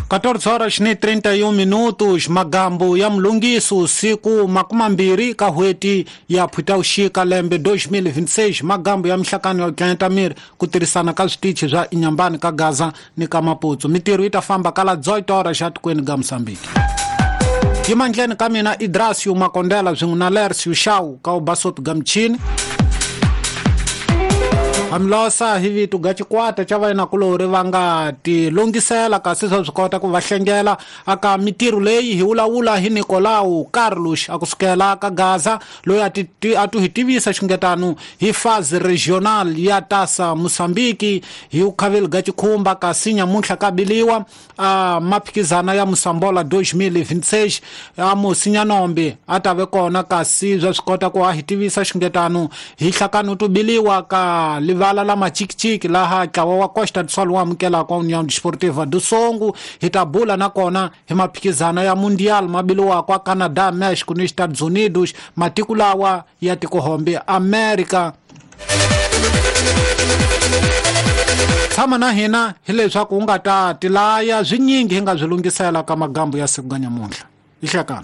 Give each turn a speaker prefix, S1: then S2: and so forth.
S1: 14 horas ni 31 minutos. Magambo ya mlungiso siku 20 ka hweti ya Phutauxika lembe 2026. Magambo ya mihlakano ya Tlantamir ku tirhisana ka switichi swa Inhambane ka Gaza ni ka Maputo. Mitirho yi ta famba kala 18 horas xa tikweni ga Mozambique. Yimandleni ka mina Idrasio Makondela swin'we na Lercio Shau ka ubasopi ga michini. Hamlosa hi vito ga xikwata xa vayinakulorhi va nga tilungisela kasi swa swi kota ku va hlengela aka mitirho leyi hi vulavula hi Nicolau Carlos a kusukela ka Gaza loyi a tu hi tivisa xingetano hi phase regional ya tasa Mozambique hi ukhaveli ga xikhumba kasi nyamuntlha ka biliwa a maphikizana ya Mosambola 2026 a Musinyanombe a ta ve kona kasi swa swi kota ku a hi tivisa xingetano hi hlakano tu biliwa ka livala la machikichiki laha ntlawa wa Costa do Sol wu amukelaka União Desportiva do Songo. Hi ta bula nakona hi maphikizana ya Mundial ma biliwaka a Canada, Mexico ni Estados Unidos, matiko lawa ya tikohombe America. Tshama na hina hileswaku u nga ta tilaya swinyingi hi nga swi lunghisela ka magambo ya siku ga nyamuntlha. Ihlekana.